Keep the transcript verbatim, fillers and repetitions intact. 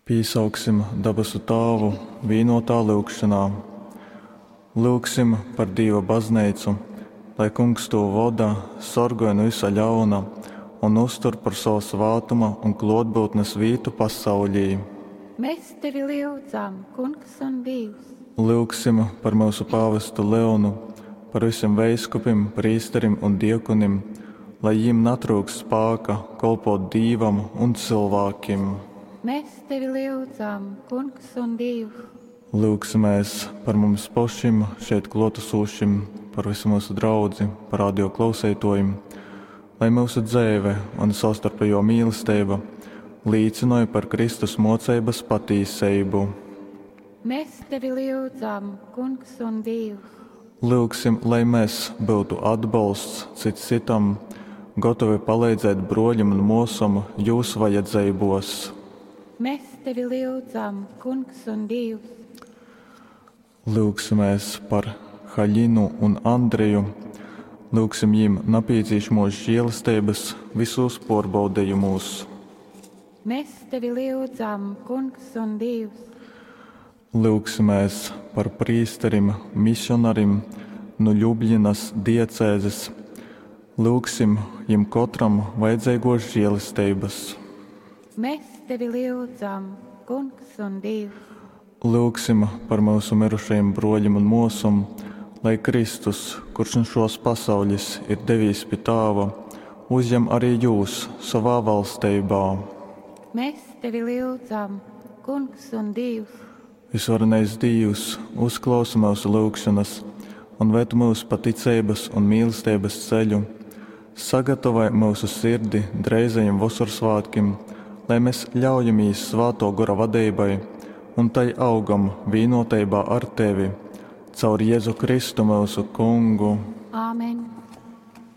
Pīsauksim dabasu Tāvu vīnōtā lyugšonā. Lyugsim par Dīva Bazneicu, lai Kungs tū voda, sorgoj nu vysa ļauna un uztur par sova svātuma un klōtbyutnes vītu pasauļī. Mes tevi lyudzam, Kungs un Dīvs! Lyugsim par myusu pāvestu Leonu, par vysim veiskupim, prīsterim un diakonim, lai jim natryukst spāka kolpōt Dīvam un cylvākim. Mes tevi lyudzam, Kungs un Dīvs! Lyugsimēs par mums pošim, šeit klōtasūšim, par vysu myusu draudzi, par radio klauseitōjim, lai myusu dzeive un sovstarpejō mīlesteiba līcynoj par Kristus mōceibas patīseibu. Mes tevi lyudzam, Kungs un Dīvs! Lyugsim, lai mes byutu atbolsts cyts cytam, gotovi paleidzēt brōļim un mōsom jūs vajadzeibōs. Mes tevi lyudzam, Kungs un Dīvs! Lyugsimēs par Haļinu un Andreju. Lyugsim jim napīcīšamōs želesteibas vysūs pōrbaudejumūs. Mes tevi lyudzam, Kungs un Dīvs! Lyugsimēs par prīsterim misionarim nu Ļubljinas diecēzes. Lyugsim jim kotram vajadzeigōs želesteibas. Mes tevi lyudzam, Kungs un Dīvs! Lyugsim par myusu myrušajim brōļim un mōsom, lai Kristus, kurš nu šōs pasauļis ir devīs pi Tāva, uzjem ari jūs sovā valsteibā. Mes tevi lyudzam, Kungs un Dīvs! Vysvarenais Dīvs, uzklausi myusu lyugšonas un ved myus pa ticeibas un mīlesteibas ceļu. Sagatavoj myusu sirdi dreizajim Vosorsvātkim, lai mes ļaujamīs Svātō Gora vadeibai un tai augam vīnōteibā ar tevi. Caur Jezu Kristu myusu Kungu. Āmen.